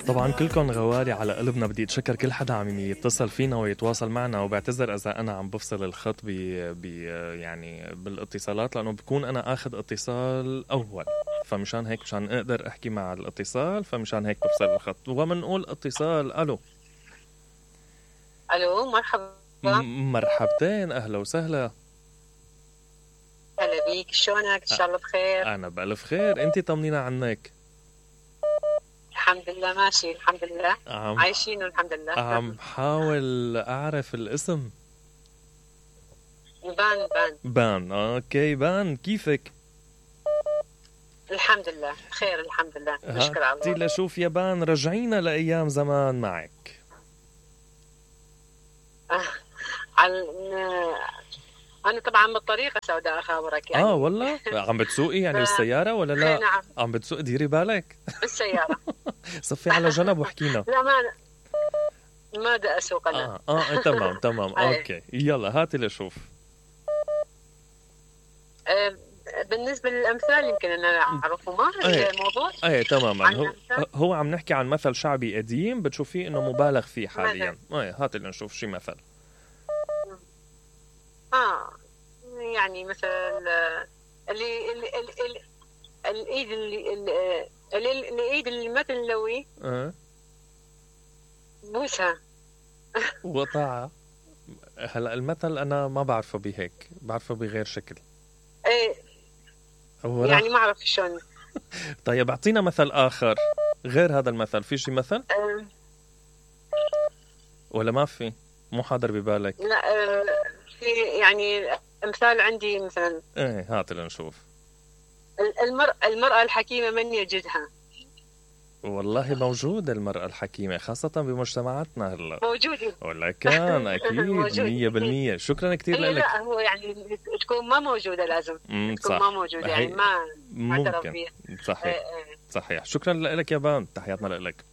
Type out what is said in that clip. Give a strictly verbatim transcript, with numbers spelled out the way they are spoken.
طبعا كلكم غوالي على قلبنا. بدي اتشكر كل حدا عم يتصل فينا ويتواصل معنا، وبعتذر اذا انا عم بفصل الخط ب يعني بالاتصالات، لانه بكون انا اخذ اتصال اول، فمشان هيك مشان اقدر احكي مع الاتصال، فمشان هيك بفصل الخط. ومنقول اتصال. الو الو مرحبا. مرحبتين، اهلا وسهلا. هلا بيك، شلونك؟ ان شاء الله بخير. انا بالف خير، انتي طمنينا عنك. الحمد لله ماشي الحمد لله، عم عايشين والحمد لله. عم حاول اعرف الاسم. بان بان بان. اوكي بان، كيفك؟ الحمد لله بخير الحمد لله، نشكر على هاتي الله. لشوف يا بان، رجعينا لايام زمان معك. آه. على انا طبعا بالطريقه سوداء اخابرك يعني. اه والله عم بتسوقي يعني بالسياره ولا لا؟ نعم عم بتسوقي، ديري بالك. بالسياره. صفي على جنب واحكينا. لا ما ما بدي اسوق انا. اه اه تمام تمام اوكي، يلا هاتي لشوف. آه. بالنسبه للامثال يمكن ان انا اعرفه ما ايه. الموضوع. ايه تماما. عن هو الأمثال؟ هو عم نحكي عن مثل شعبي قديم بتشوفيه انه مبالغ فيه حاليا. ايه هاتي لنشوف شي مثل. اه يعني مثلا اللي اللي اللي الايد اللي اللي الايد اللي ما تنلوي اه بوسها. وطاعة. هلا المثل انا ما بعرفه بهيك، بعرفه بغير شكل. ايه هو يعني راح. ما اعرف شلون. طيب اعطينا مثل اخر غير هذا المثل، في شي مثل آه ولا ما في؟ مو حاضر ببالك؟ لا آه في يعني امثال عندي مثلا. ايه هات لنشوف. المرأة المرأة الحكيمة من يجدها. والله موجودة المرأة الحكيمة خاصة بمجتمعاتنا هلا. موجودة ولا كان أكيد مية بالمية. شكرا كتير هي لك. لا هو يعني تكون ما موجودة لازم مم، تكون صح. ما موجودة يعني هي- ما ما اعترف ممكن فيها. صحيح إيه إيه. صحيح. شكرا لك يا بان، تحياتنا لك.